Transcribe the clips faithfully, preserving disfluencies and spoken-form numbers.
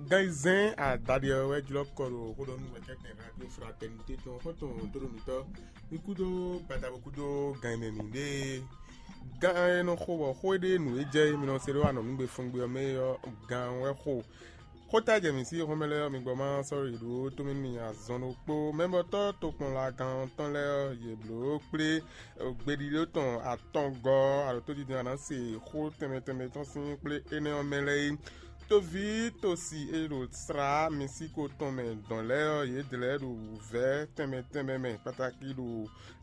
Gan yi zɛ́n adaɖé ɔ́ wɛ jlɔ́ kɔ ɖo xó ɖɔ nú wɛkɛ́tɛn radio fraternité tɔn xɔ́ntɔn dóɖo mǐtɔn ní kúdó gbadabo kúdó gan yi mɛ mǐ ɖée. Gan e nɔ xo bɔ xó e ɖe nǔ e jɛ é mi nɔ se ɖó anɔ̌ nú gbe fɔngbe ɔ́ mɛ é ɔ́, gan wɛ xo. Xóta jɛ mǐ sí xɔ́mɛ lɛ́ɛ ɔ́, mi gbɔ má sɔ́ yi ɖó tómɛ nú mi azɔn ɖokpó. Mɛbɔtɔ́ tokpɔnlagán tɔn lɛ́ɛ ɔ́, yě bló kplé gbeɖiɖó tɔn atɔngɔ́ alo tójijɛ ɔ́ ná se xó tɛnmɛ tɛnmɛ tɔn sín kplé énɛ́ ɔ́ mɛ lɛ́ɛ é. Toví tosi e ɖo slá Mɛsíko tɔn mɛ dɔn lɛ́ɛ ɔ́, yědɛɛ lɛ́ɛ ɖo wǔvɛ́ tɛnmɛ tɛnmɛ mɛ kpatáki ɖo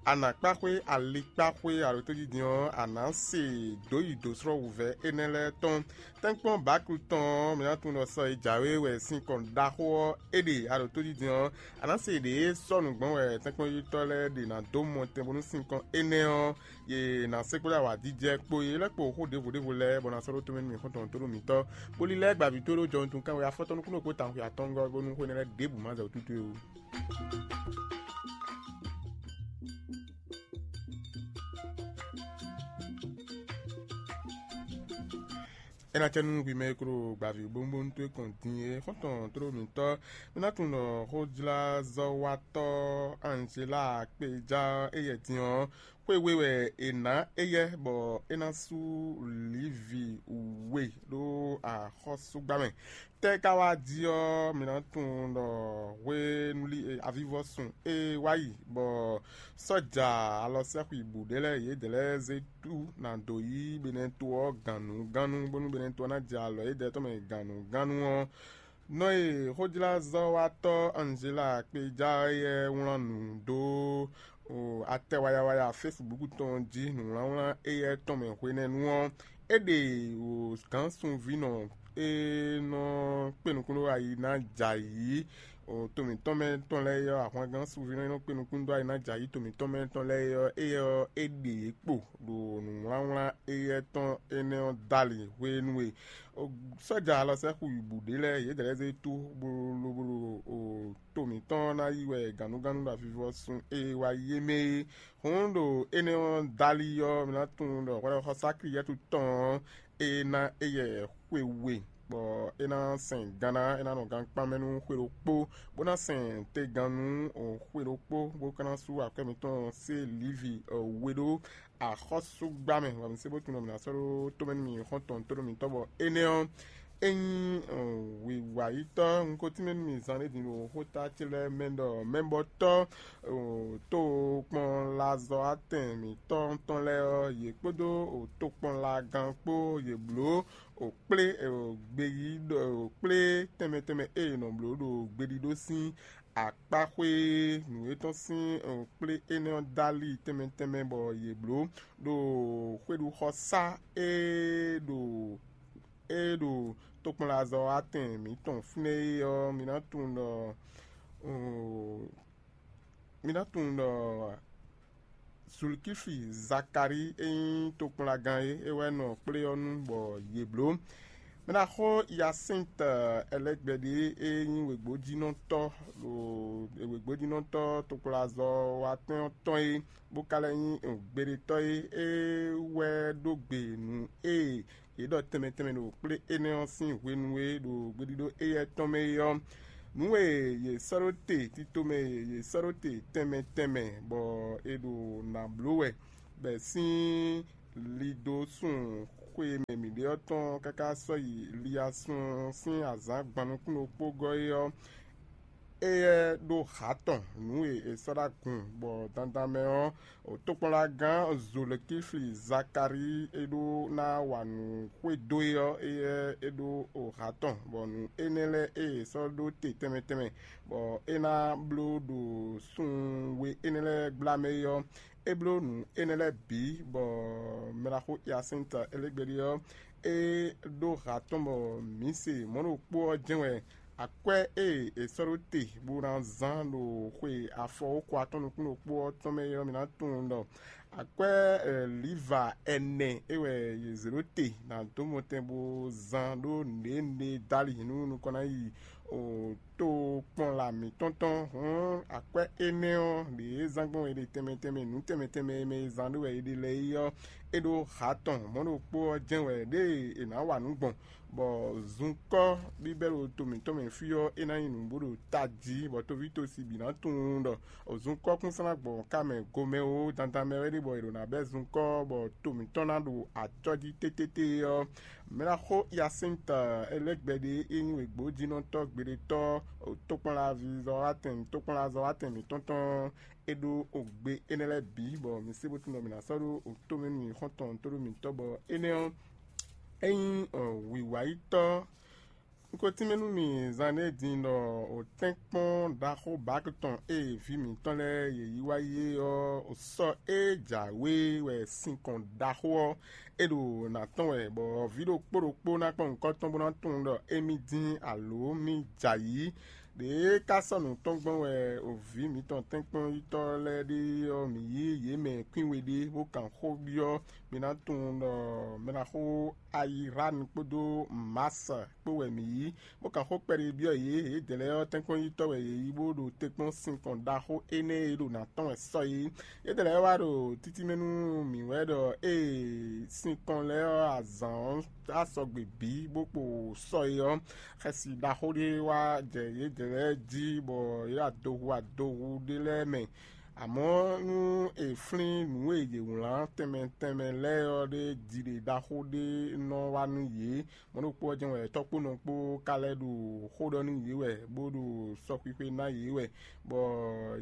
anǎkpáxwé, alikpáxwé alo tójijɛ ɔ́, a nǎ se dǒ yi dǒ slɔ́ wǔvɛ́ énɛ́ lɛ́ɛ tɔn. Tɛ́nkpɔ́n Baklu tɔn ɔ́, mǐ ná tunwun ɖɔ sɔ e jǎwe wɛ sinkɔn ɖaxó ɔ́ é ɖe a ɖo tó jijɛ ɔ́, a nǎ se ɖě e sɔ́ nǔ gbɔn wɛ tɛ́nkpɔ́njítɔ́ lɛ́ɛ ɖe ná dó mɔ tɛn bónú sinkɔn énɛ́ ɔ́, yě ná se kpódó awǎjijɛ kpó yě lɛ́ kpo xó ɖěvo ɖěvo lɛ́ɛ, bɔ ná sɔ́ ɖó tomɛ nú mǐ xɔ́ntɔn tó ɖo mǐtɔn, bó lílɛ́ gbavǐ tó ɖó jɔwuntun kánwé afɔtɔ́ nukúnnú kpó tawun xwe atɔngɔ́ bónú xó énɛ́ lɛ́ɛ ɖěbǔ má zɛ wǔtútú é ó. É ná cɛ nú hwi mɛ e klo gbaví bónbónú towe kɔn din é xɔ́ntɔn tló mǐtɔn. Mi ná tunwun ɖɔ xójlázɔ́watɔ́ Anzela kpéjá éyɛ́ din ɔ́, xwé we wɛ è nǎ éyɛ́ bɔ é ná sú lǐvi we ɖó axɔ́súgbá mɛ. Tɛ́ ka wá jí ɔ́, mi ná tunwun ɖɔ hwenu lí avivɔsun e wá yi bɔ sɔ́ja alɔsɛ́xuibu ɖé lɛ́ɛ yědɛɛ lɛ́ɛ zé tú ná dǒ yí Benɛto ɔ́ gǎnnugánnu, bónú Benɛto ɔ́ ná jɛ alɔ yědɛɛ tɔn mɛ gǎnnugánnu ɔ́, nɔ e xójlázɔ́watɔ́ Anzela kpéjá éyɛ́ wlán nǔ dó atɛ wayawaya Facebook tɔn jí nǔwlánwlán éyɛ́ tɔn mɛ hwenɛ́nu ɔ́, é ɖe gǎn sunvínɔ e nɔ kpé nukúnnú ayi ná jɛ ayǐ to mǐtɔn mɛ tɔn lɛ́ɛ é ɔ́, ahwangán sunvínɔ e nɔ kpé nukúnnú dó ayi ná jɛ ayǐ to mǐtɔn mɛ tɔn lɛ́ɛ é ɔ́, éyɛ́ ɔ́, é ɖe yě kpo ɖo nǔwlánwlán éyɛ́ tɔn énɛ́ ɔ́ dali hwenu e sɔ́ja alɔsɛ́xu yi bǔ ɖé lɛ́ɛ yědɛɛ lɛ́ɛ zé tú bó lobo ɖo to mǐtɔn ná yi wɛ gǎnnugánnu ɖo avivɔsun e wá yi é mɛ é. Hǔn ɖo énɛ́ ɔ́ dali ɔ́, mi ná tunwun ɖɔ hwɛɖɔxɔsá Kliyɛ́tu tɔn ɔ́, é ná éyɛ́ xwe we, bɔ é ná sɛn gan ná, é ná nɔ gankpán mɛ nú xwe ɖokpó, bó ná sɛn tegannú xwe ɖokpó, bó ka ná sú akwɛ́ mǐtɔn se Livi we ɖó axɔ́súgbá mɛ, bɔ mi se bó tunwun ɖɔ mǐ ná sɔ́ ɖó tomɛ nú mi xɔ́ntɔn tóɖó mǐtɔn, bɔ énɛ́ ɔ́, é nyí wǐwayítɔ́. Un ko tínmɛ nú mi zan ɖé din ɖo xóta ce lɛ́ɛ mɛ ɖɔ mɛbɔtɔ́ tokpɔnlazɔ́watɛn mǐtɔn tɔn lɛ́ɛ ɔ́, yě kpódó tokpɔnlagán kpó yě bló kplé gbeyíɖɔ kplé tɛnmɛ tɛnmɛ e è nɔ bló ɖo gbeɖiɖó sín akpáxwé nǔ e tɔn sín kplé énɛ́ ɔ́ dó ali tɛnmɛ tɛnmɛ bɔ yě bló ɖo xwéɖuxɔsá e ɖo e ɖo tokpɔnlazɔ́watɛn mǐtɔn fínɛ́ é ɔ́, mi ná tunwun ɖɔ mi ná tunwun ɖɔ Zulkífi Zakalíi e nyí tokpɔnlagán é, é wɛ nɔ kplé ɔ́ nu bɔ yě bló. Mɛ ná xo Yasíntɔ Ɛlɛgbɛɖi e nyí wěgbójínɔtɔ́ ɖo wěgbójínɔtɔ́ tokpɔnlazɔ́watɛn ɔ́ tɔn é, bó ka lɛ́ nyí gbeɖetɔ́ é, é wɛ ɖó gbe nǔ e yě ɖɔ tɛnmɛ tɛnmɛ ɖo kplé énɛ́ ɔ́ sín hwenu e ɖo gbeɖiɖo éyɛ́ tɔn mɛ é ɔ́, nǔ e yě sɔ́ ɖó te tito mɛ e yě sɔ́ ɖó te tɛnmɛ tɛnmɛ bɔ è ɖo nǎ bló wɛ, bɔ è sín lido sun xwe e mɛ mǐ ɖe ɔ́ tɔn káká sɔ́ yi liyasun sín azǎn gban nukúnnú kpó gɔ́ é ɔ́, éyɛ́ ɖó hǎ tɔn nǔ e è sɔ́ ɖó agun, bɔ dandan mɛ ɔ́, tokpɔnlagán Zolekífli Zakalíi e ɖó ná wa nǔ xwedó é ɔ́, éyɛ́ é ɖó hǎ tɔn, bɔ nǔ énɛ́ lɛ́ɛ e è sɔ́ ɖó te tɛnmɛ tɛnmɛ, bɔ é ná bló ɖo sun we énɛ́ lɛ́ɛ gbla mɛ é ɔ́, é bló nǔ énɛ́ lɛ́ɛ bǐ, bɔ mɛ ɖaxó Yasíntɔ Elégbeɖi ɔ́, é ɖó hǎ tɔn bɔ mǐ se mɔ̌ ɖokpó ɔ́ jɛ́n wɛ akwɛ́ e è sɔ́ ɖó te bó ná zán ɖo xwe afɔwókɔ atɔ́ nukún ɖokpó ɔ́ tɔn mɛ é ɔ́, mǐ ná tunwun ɖɔ akwɛ́ liva ɛnɛ é wɛ yě zě ɖó te ná dó mɔtɛn bó zán ɖó nǔɖé nǔɖé dali nú nukɔn ná yi o tokpɔnla mǐtɔn tɔn. Hǔn akwɛ́ énɛ́ ɔ́, ɖě zán gbɔn è ɖe tɛnmɛ tɛnmɛ nǔ tɛnmɛ tɛnmɛ e mɛ e zán ɖó wɛ è ɖe lɛ́ɛ é ɔ́, é ɖó ha tɔn mɔ̌ ɖokpó ɔ́ jɛ́n wɛ ɖěe è nǎ wa nǔ gbɔn, bɔ zunkɔ́ bíbɛ́ ɖo to mǐtɔn mɛ fí ɔ́, é ná nyí nǔ bó ɖo tají, bɔ tovítɔ́si bǐ ná tunwun ɖɔ zunkɔ́kúnsan ná gbɔn ká mɛ gomɛ ó, dandan mɛ wɛ ɖe bɔ è ɖǒ ná bɛ́ zunkɔ́, bɔ to mǐtɔn ná ɖo acɔ́ jí tétété ɔ́, mɛ ná xo Yasíntɔ Ɛlɛ́gbɛɖe e nyí wěgbójínɔtɔ́ gbeɖétɔ́, tokpɔnlaví zɔ́watɛn tokpɔnlazɔ́watɛn mǐtɔn tɔn é ɖó ogbe énɛ́ lɛ́ɛ bǐ, bɔ mǐ se bó tunwun ɖɔ mǐ ná sɔ́ ɖó tomɛ nú mǐ xɔ́ntɔn tóɖó mǐtɔn, bɔ énɛ́ ɔ́, é nyí wǐwáyítɔ́. Un ko tínmɛ nú mì zan ɖé din ɖɔ wǒtɛ́nkpɔ́n ɖaxó Baki tɔn e vǐ mǐtɔn lɛ́ɛ yě yí wá yi é ɔ́, sɔ́ e jǎwe wɛ sinkɔn ɖaxó ɔ́, é ɖo nǎ tɔn wɛ, bɔ vǐ ɖokpó ɖokpó ná kpɔ́n nyǐkɔ tɔn bó ná tunwun ɖɔ émí dín alǒ mì jɛ ayǐ. Ɖěe ka sɔ́ nǔ tɔn gbɔn wɛ vǐ mǐtɔn tɛ́nkpɔ́nyitɔ́ lɛ́ɛ ɖe ɔ́, mǐ yí yě mɛ kwín we ɖé, bó kan xó byɔ́ mi ná tunwun ɖɔ mɛ ná xo Ayirani kpódó Masa kpó wɛ mǐ yí, bó kan xó kpɛɖé byɔ́ yě. Yědɛɛ lɛ́ɛ ɔ́, tɛ́nkpɔ́nyitɔ́ wɛ yě yí, bó ɖo te kpɔ́n sinkɔn ɖaxó énɛ́ e ɖo nǎ tɔn wɛ sɔ́ é. Yědɛɛ lɛ́ɛ wá ɖo títí mɛ nú mǐ wɛ ɖɔ ée sinkɔn lɛ́ɛ ɔ́ azǎn ɔ́ á sɔgbe bǐ bó kpo sɔ́ é ɔ́, xɛsi ɖaxó ɖé wá jɛ yědɛɛ lɛ́ɛ jí, bɔ yě ɖo adohu adohu ɖé lɛ́ɛ mɛ. Amɔ̌, nú è flín nǔ e yě wlán tɛnmɛ tɛnmɛ lɛ́ɛ ɔ́ ɖé jiɖe ɖaxó ɖé nɔ wá nú yě. Mɔ̌ ɖokpó ɔ́ jɛ́n wɛ tɔ́kpónɔ kpó ka lɛ́ ɖo xó ɖɔ nú yě wɛ, bó ɖo sɔxwixwe ná yě wɛ, bɔ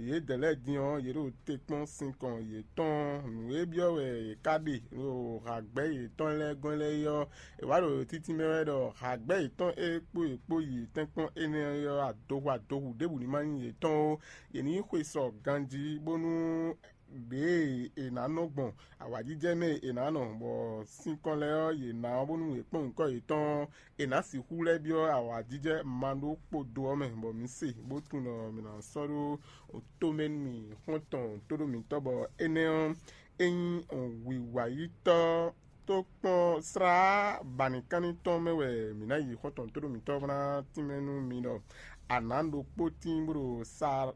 yědɛɛ lɛ́ɛ din ɔ́, yě ɖo te kpɔ́n sinkɔn yětɔn. Nǔ e byɔ́ wɛ yě ká ɖe ɖo hǎgbɛ́ yětɔn lɛ́ɛ gɔ́n lɛ́ɛ é ɔ́, è wǎ ɖo títí mɛ wɛ ɖɔ hǎgbɛ́ yětɔn e kpó yě kpó yi tɛ́nkpɔ́n énɛ́ ɔ́, adohu adohu ɖěbǔ ní ma nyí yětɔn ó. Yě ní xwe sɔ ganjí, bónú ɖěe è nǎ nɔ gbɔn awǎjijɛ mɛ e è nǎ nɔ, bɔ sinkɔn lɛ́ɛ ɔ́, yě ná ɔ́ bónú è kpɔ́n nyǐkɔ yětɔn ɔ́, è nǎ sixú lɛ́ byɔ́ awǎjijɛ ma ɖó kpodo ɔ́ mɛ, bɔ mǐ se bó tunwun ɖɔ mǐ ná sɔ́ ɖó tomɛ nú mì xɔ́ntɔn tóɖó mǐtɔn, bɔ énɛ́ ɔ́, é nyí wǐwáyítɔ́ tó kpɔ́n slá banǐkanní tɔn mɛ wɛ mǐ ná yi xɔ́ntɔn tóɖó mǐtɔn bó ná tínmɛ nú mi ɖɔ a nǎ ɖokpó tín bó ɖo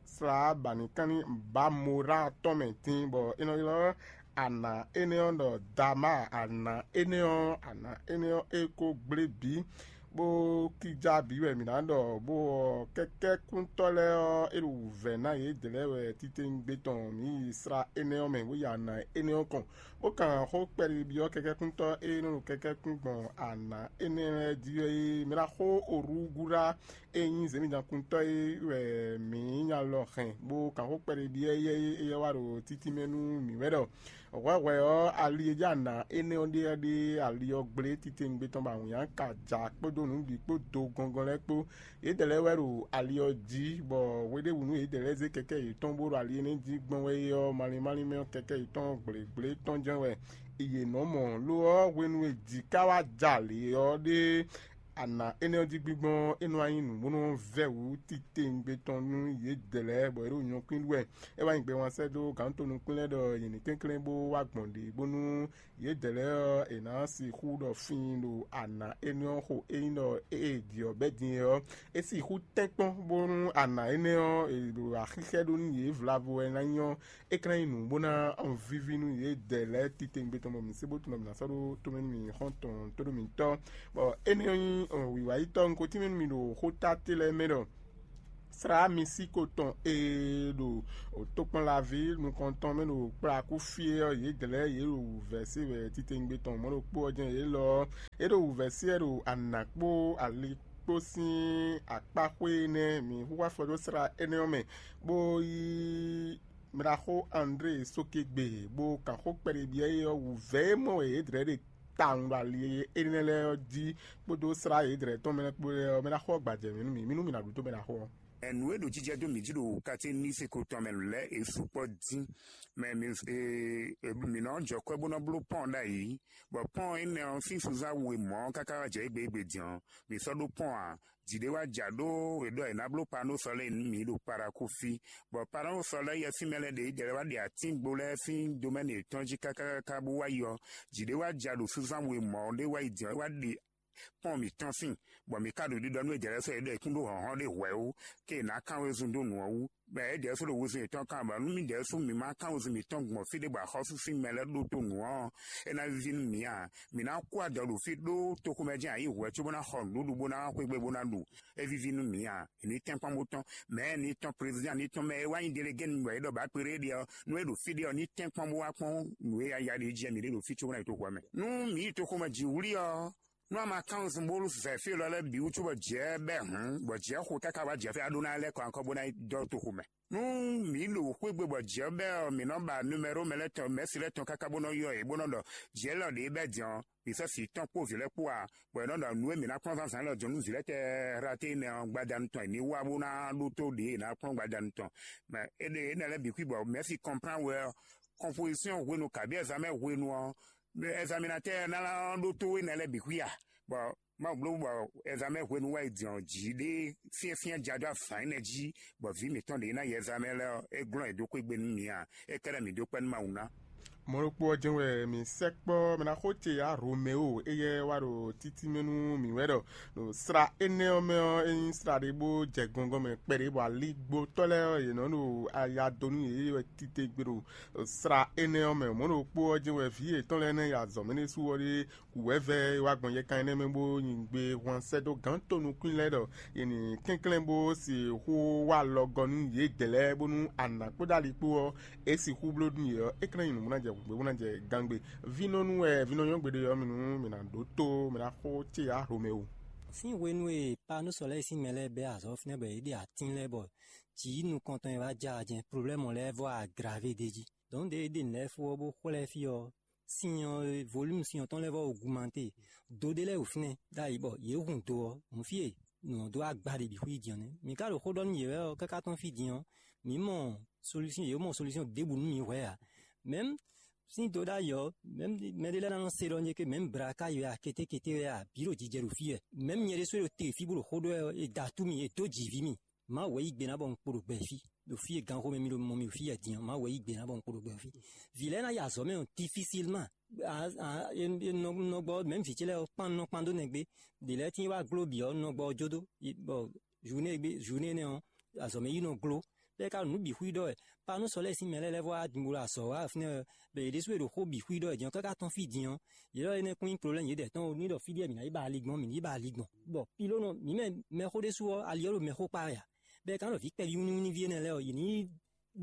slá banǐkanní Bamorá tɔn mɛ tín, bɔ é nɔ ylɔ́ ana énɛ́ ɔ́ ɖɔ Dama. Ana énɛ́ ɔ́, ana énɛ́ ɔ́, é ko gblé bǐ, bó kíjá bǐ wɛ mǐ ná ɖɔ, bó ɔ́, kɛ́kɛ́kúntɔ́ lɛ́ɛ ɔ́, é ɖo wǔvɛ́ ná yědɛɛ lɛ́ɛ wɛ titewungbe tɔn mǐ yi slá énɛ́ ɔ́ mɛ, bó yi ana énɛ́ ɔ́ kɔn, bó kan xó kpɛɖé byɔ́ kɛ́kɛ́kúntɔ́ e nɔ ɖo kɛ́kɛ́kún gbɔn ana énɛ́ lɛ́ɛ jí ɔ́ é. Mɛ ná xó orúgúɖá e nyí zěmídakuntɔ́ é wɛ mǐ nya lɔ hɛn, bó kan xó kpɛɖé byɔ́ éyɛ́ é, éyɛ́ wá ɖo títí mɛ nú mǐ wɛ ɖɔ hwɛhwɛ ɔ́, ali e jɛ ana énɛ́ ɔ́ ɖe ɔ́ ɖe ali ɔ́ gblé titewungbe tɔn bɔ awǐnnya ka ja kpódó nǔ bǐ kpó do gɔngɔn lɛ́ɛ kpó. Yědɛɛ lɛ́ɛ wɛ ɖo ali ɔ́ jí, bɔ hweɖěbǔnu yědɛɛ lɛ́ɛ zé kɛkɛ́ yětɔn bó ɖo ali énɛ́ jí gbɔn wɛ é ɔ́, malín málín mɛ ɔ́, kɛkɛ́ yětɔn gblěgblé tɔn jɛ́n wɛ yě nɔ mɔ. Lo ɔ́, hwenu e jǐ ka wá ja lě ɔ́ ɖe, ana énɛ́ ɔ́ jí gbígbɔ́n ɔ́, é nɔ wá nyí nǔ bó nɔ vɛ́ wǔ titewungbe tɔn nú yědɛɛ lɛ́ɛ, bɔ yě ɖo nyɔ̌kwín ɖu wɛ. É wá nyí gbɛwán sɛ́ dó gǎn to nukún lɛ́ɛ ɖɔ yě ní kɛnklɛ́n bó wá gbɔn ɖě, bónú yědɛɛ lɛ́ɛ ɔ́, è nǎ sixú ɖɔ fíin ɖo ana énɛ́ ɔ́ xo. Ényí ɖɔ ée jǐ ɔ́ bɛ́ din é ɔ́, é sixú tɛ́nkpɔ́n, bónú ana énɛ́ ɔ́, è ɖo axíxɛ́ ɖó nú yě vlavo wɛ ná nyí ɔ́, é ka ná nyí nǔ bó ná víví nú yědɛɛ lɛ́ɛ titewungbe tɔn, bɔ mǐ sé bó tunwun ɖɔ mǐ ná sɔ́ ɖó tomɛ nú mì xɔ́ntɔn tóɖó mǐtɔn. Bɔ énɛ́ ɔ́ nyí wǐwáyítɔ́, un ko tínmɛ nú mi ɖo xóta ce lɛ́ɛ mɛ ɖɔ slá mi sí ko tɔn e ɖo tokpɔnlaví nukɔntɔn mɛ ɖo kplakú fí é ɔ́, yědɛɛ lɛ́ɛ yě ɖo wǔvɛ́ se wɛ titewungbe tɔn mɔ̌ ɖokpó ɔ́ jɛ́n yě lɔ ɔ́, é ɖo wǔvɛ́ se wɛ ɖo anǎ kpó ali kpó sín akpáxwé énɛ́. Mǐ hu afɔ dó slá énɛ́ ɔ́ mɛ, bó yí mlaxó André Sokegbe, bó kan xó kpɛɖé byɔ́ é ɔ́, wǔvɛ́ e mɔ wɛ yě dlɛ̌ ɖe tawun ɖo ali énɛ́ lɛ́ɛ ɔ́ jí kpódó slá yědɛɛ tɔn mɛ lɛ́ɛ kpó lɛ́ɛ ɔ́, mɛ ná xɔ gbajɛ mǐ nú mì, mí nú mì nǎ ɖu tó mɛ ná xɔ ɔ́. Nǔ e ɖo jijɛ dó mǐ jí ɖo katéniseko tɔn mɛ lɛ́ɛ è sukpɔ́ dín, mɛ mǐ mǐ nɔ jɔ kwɛ́ bó nɔ bló pɔ́n ɖ'ayǐ, bɔ pɔ́n énɛ́ ɔ́ sín sunzán we mɔ̌ káká wá jɛ égbé égbé din ɔ́, mǐ sɔ́ ɖó pɔ́n ǎ. Jǐ ɖé wá ja ɖó è ɖɔ è nǎ bló panósɔ lɛ́ɛ nú mǐ ɖo Parakúfí, bɔ panósɔ lɛ́ɛ yɛswímɛ lɛ́ɛ ɖě jɛ wá ɖe atíngbo lɛ́ɛ sín domɛ́ni yětɔn jí káká káká bó wá yi ɔ́, jǐ ɖé wá ja ɖo sunzán we mɔ̌ ɖé wá yi din ɔ́, é wá ɖe kpɔ́n mǐtɔn sín, bɔ mǐ ka ɖo ɖiɖɔ nú yědɛɛ lɛ́ɛ sɔ́ yě ɖɔ yě kún ɖó hlɔ̌nhlɔ́n ɖé hwɛ̌ ó, ké è nǎ kán wezun dó nǔ ɔ́ wú. Bɔ yědɛɛ sɔ́ ɖo wezun yětɔn kán, bɔ nú mǐdɛɛ sú mǐ ma kán wezun mǐtɔn gbɔn fí ɖé bɔ axɔ́sú sín mɛ lɛ́ɛ ɖótó nǔ ɔ́, é ná víví nú mǐ a? Mǐ ná kú adɔ ɖo fí ɖó toxomɛ jɛ́n ayǐ hwɛ̌ cóbó ná xɔ nǔɖuɖu bó ná xwé gbe bó ná ɖu. É víví nú mǐ a? È ní tɛ́nkpɔ́n bó tɔ́n, mɛ̌ ní tɔ́n, prezidán ní tɔ́n, mɛ e wá nyí delegé nú bɔ é ɖɔ bǎ kpeɖé ɖe ɔ́, nú é ɖo fí ɖé ɔ́, ní tɛ́nkpɔ́n bó wá kpɔ́n nǔ e yaya ɖě jí wɛ mǐ ɖe ɖo fí cóbó ná yi toxo ɔ́ mɛ. Nú mǐ yi toxo mɛ jǐ wlí ɔ́, nú a ma kán nusún bó zɛ fí élɔ́ lɛ́ɛ bǐ wú cóbɔ jǐ ɛ bɛ́ hǔn, bɔ jǐ ɛ xo káká wá jǐ ɛ fí a ɖó ná lɛ́ kɔ ankɔ bó ná yi dɔ́ toxo mɛ. Nú mǐ ɖo xwé gbe bɔ jǐ ɔ́ bɛ́ ɔ́, mǐ nɔ ba numɛ́ro mɛ lɛ́ɛ tɔn, mɛ̌si lɛ́ɛ tɔn káká bó nɔ́ ylɔ́ yě bó nɔ́ ɖɔ jǐ élɔ́ ɖě bɛ́ din ɔ́, mǐ sɔ́ sǐ tɔn kpó vǐ lɛ́ɛ kpó a? Bɔ è nɔ́ ɖɔ nǔ e mǐ ná kplɔ́n zǎnzǎn élɔ́ jɔ̌ nú vǐ lɛ́ɛ tɛɛ Hlatéi nɛ́ ɔ́, gbadanu tɔn è ní wá bó ná ɖótó ɖě è nǎ kplɔ́n gbadanu tɔn. Mɛ éɖée énɛ́ lɛ́ɛ bǐ xwí bɔ mɛ̌si kɔnplán we ɔ́, kɔnpozisɔ́n hwenu kabǐ ɛzamɛ hwenu ɔ́, ɛzaminatɛ́ ɔ́ ná ɖótó énɛ́ lɛ́ɛ bǐ xwí a? Bɔ Mawu bló bɔ ɛzamɛ hwenu wɛ è jɔn jǐ ɖé syɛ́nsyɛ́n ja dó azǎn énɛ́ jí, bɔ vǐ mǐtɔn ɖě ná yi ɛzamɛ lɛ́ɛ ɔ́, é glɔ́n yě dó xwé gbe nú mǐ a? É kɛ́ɖɛ́ mǐ dó kpɛ́ nú Mawu ná. Mɔ̌ ɖokpó ɔ́ jɛ́n wɛ mǐ sɛkpɔ́ mɛ ná xó ce yá Romeo éyɛ́ wá ɖo títí mɛ nú mǐ wɛ ɖɔ ɖo sra énɛ́ ɔ́ mɛ ɔ́, é nyí sra ɖé bó jɛ gɔngɔn mɛ kpɛɖé bɔ aligbotɔ́ lɛ́ɛ ɔ́, yě nɔ ɖo aya dó nú yě wɛ titewungbe ɖo sra énɛ́ ɔ́ mɛ. Mɔ̌ ɖokpó ɔ́ jɛ́n wɛ vǐ yětɔn lɛ́ɛ nɛ́ yi azɔ̌ mɛ ɖésú ɔ́ ɖé wǔ wɛ vɛ́ e wá gbɔn yɛkan énɛ́ mɛ bó nyi gbe hwan sɛ́ dó gǎn tonukún lɛ́ɛ ɖɔ yě ní kɛnklɛ́n bó sixú wá alɔgɔ́ nú yědɛɛ lɛ́ɛ bónú anǎ kpódó ali kpó ɔ́, é sixú bló nú yě ɔ́, é ka ná nyí nǔ bó ná jɛ hǔgbé bó ná jɛ gángbe. Vínɔ́nú wɛ vínɔ́ nyɔ́ gbeɖé ɔ́, mi nú mi ná ɖǒ tó mi ná xó cé yá Romeo. Sín hwenu e Panúsɔ lɛ́ɛ sín mɛ lɛ́ɛ bɛ́ azɔ̌ fínɛ́ bɔ yě ɖe atín lɛ́ɛ bɔ jǐ nukɔntɔn e wá jɛ ajɛn, problɛ́mu lɛ́ɛ vɔ agravé d'é jí. Dɔ̌n ɖě e ɖe nǔ lɛ́ɛ fó ɔ́ bó xwlɛ́ fí ɔ́, sin ɔ́, volume sin ɔ́ tɔn lɛ́ɛ vɔ augmenté. Do ɖé lɛ́ɛ ɖo fínɛ́ ɖ'ayǐ bɔ yě hun do ɔ́, hǔn fí e nǔ ɔ́ dó agba ɖě bǐ xwí din ɔ́ nɛ́. Mǐ ka ɖo xó ɖɔ nú yě wɛ ɔ́, káká tɔ́n fí din ɔ́, mǐ mɔ solusyɔn, yě mɔ solusyɔn ɖěbǔ nú mǐ hwɛ̌ ǎ. Mɛ̌m sín do ɖ'ayǐ ɔ́, mɛ̌m mɛɖé lɛ́ɛ ná nɔ se ɖɔ nyɛ ke mɛ̌m bla ká yɔ ǎ, kétékété wɛ ǎ, bǐ ɖo jijɛ ɖo fí wɛ. Mɛ̌m nyɛ ɖésú e ɖo te fí bó ɖo xó ɖɔ wɛ ɔ́, è da atú mì, è dó jǐ ví mì. Mawu wɛ yí gbe ná bɔ un kpo ɖo gbɛ fí. Ɖo fí e ganxomɛ mi ɖo mɔ mi ɖo fí wɛ din ɔ́, Mawu wɛ yí gbe ná bɔ un kpo ɖo gbɛ fí. Vǐ lɛ́ɛ ná yi azɔ̌ mɛ ɔ́, difisilman. Nɔgbɔ mɛ̌m vǐ ce lɛ́ɛ ɔ́, kpán nɔ kpán dó nɛgbé. Ɖě lɛ́ɛ tín wá gló bǐ ɔ́, nɔgbɔ ɔ́ jó dó, bɔ zǔnée gbe zǔnée énɛ́ ɔ́, azɔ̌ mɛ yi nɔ gló. Bɔ é ka ɖo nǔ bǐ xwí ɖɔ wɛ. Panúsɔ lɛ́ɛ sín mɛ lɛ́ɛ lɛ́ɛ vɔ wá din bó ɖo azɔ̌ wa fínɛ́ wɛ, bɔ yě ɖésú e ɖo xó bǐ xwí ɖɔ wɛ din ɔ́, káká tɔ́n fí din ɔ́, yě ɖɔ énɛ́ kún nyí problɛ́mu yědɛɛ tɔn ó, ní ɖɔ fí ɖíe mǐ ná yi ba ali gbɔn, mǐ ní yi ba ali gbɔn. Bɔ pilónɔ mǐ mɛ mɛxó ɖésú ɔ́, ali ɔ́ ɖo mɛxó kpá wɛ ǎ. Bɔ è ka nɔ vǐ kpɛví wínníwínní ví énɛ́ lɛ́ɛ ɔ́, yě ní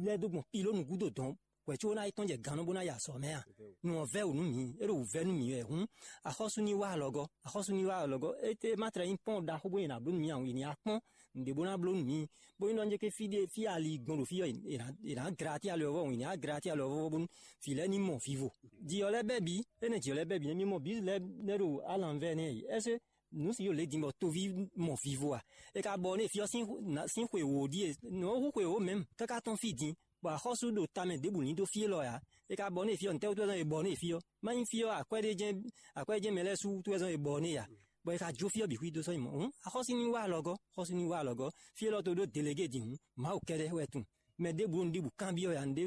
lɛ́ dó gbɔn pilónu gúdo dɔ̌n hwɛ̌ có ná yi tɔ́n jɛ gannú bó ná yi azɔ̌ mɛ a? Nǔ ɔ́ vɛ́ wǔ nú mǐ, é ɖo wǔvɛ́ nú mǐ wɛ hǔn, axɔ́sú ní wá alɔgɔ́, axɔ́sú ní wá alɔgɔ́. Étɛ́ ma tlɛ nyí pɔ́n ɖaxó bó nyɛ nǎ bló nú mǐ a? Yě ní wá kpɔ́n nǔɖé bó ná bló nú mǐ. Bó nyí ɖɔ nyí ké fí ɖé fí ali gbɔn ɖo fí ɔ́, è nǎ- è nǎ gra atí alɔ ɔ́ vɔ, è nǎ gra atí alɔ ɔ́ vɔ bónú vǐ lɛ́ɛ ní mɔ vivo. Jǐ ɔ́ lɛ́ɛ bɛ́ bǐ, énɛ́ jǐ ɔ́ lɛ́ɛ bɛ́ bǐ nɛ́ mí mɔ bǐ lɛ́ɛ nɛ́ ɖo alǎnvɛ́ nɛ́ yi. Ɛ́sé nǔ si yǒ lě din bɔ toví mɔ vivo a? É ka bɔ nú fí ɔ́ sín xwe wǒ ɖíe, nǔ ɔ́ hú xwe wǒ mɛ̌m káká tɔ́n fí din, bɔ axɔ́sú ɖo tamɛ ɖěbǔ ní dó fí élɔ́ ǎ. É ka bɔ nú fí ɔ́, nǔtɛ́ wútu wɛ zɔ́n è bɔ nú fí ɔ́? Má nyí fí ɔ́, akwɛ́ ɖé jɛ́n akwɛ́ jɛ́n mɛ lɛ́ɛ sú wútu wɛ zɔ́n è bɔ nú a? Bɔ è ka jó fí ɔ́ bǐ xwí dó sɔ́ nyi mɔ̌. Hǔn axɔ́sú ní wá alɔgɔ́, xɔ́sú ní wá alɔgɔ́. Fí élɔ́ tó ɖó delegé din hǔn, Mawu kɛ́ɖɛ́ wɛ tunwun. Mɛ ɖěbǔ ɖo nǔɖiɖi kanbyɔ́ ya nǔɖé,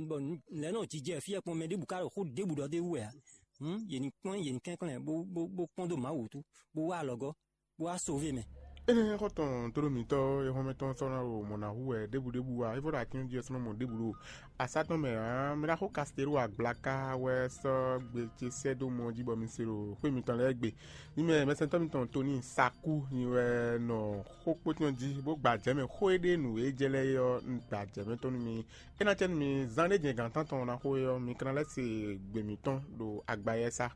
bɔ lɛ̌ nɔ jijɛ fí ɔ́ kpɔn, mɛ ɖěbǔ ka ɖo xó ɖěbǔ ɖɔ d'é wú wɛ ǎ. Hǔn yě ní kplɔ́n yě ní kɛnklɛ́n bó bó bó kpɔ́n dó Mawu wú, bó wá alɔgɔ́, bó wá sové mɛ. Énɛ́ xɔ́ntɔn tlóló mǐtɔn e xɔ́mɛtɔn sɔ́ ná ɖo mɔ̌ ná hu wɛ ɖěbǔ ɖěbǔ ǎ, é vɔ ɖo atín jí ɔ́ sɔ́ nɔ mɔ ɖěbǔ ɖo asá tɔn mɛ ǎ. Mi ná xo Kastelú agblaka wɛ sɔ́ gbe ce sɛ́ dó mɔ jí bɔ mi se ɖo xwé mitɔn lɛ́ɛ gbe. Mi mɛ mɛsɛntɔ́ mitɔn Toni Sakú nyi wɛ nɔ xó kpótɔn jí bó gba jɛ̌ mɛ xó e ɖe nǔ e jɛ lɛ́ɛ é ɔ́, un gba jɛ̌ mɛ tɔn nú mi. É ná cɛ nú mi zán ɖé jɛ́n gǎn tántɔn ná xo é ɔ́, mi ka ná lɛ́ se gbe mǐtɔn ɖo agbayɛ́sá.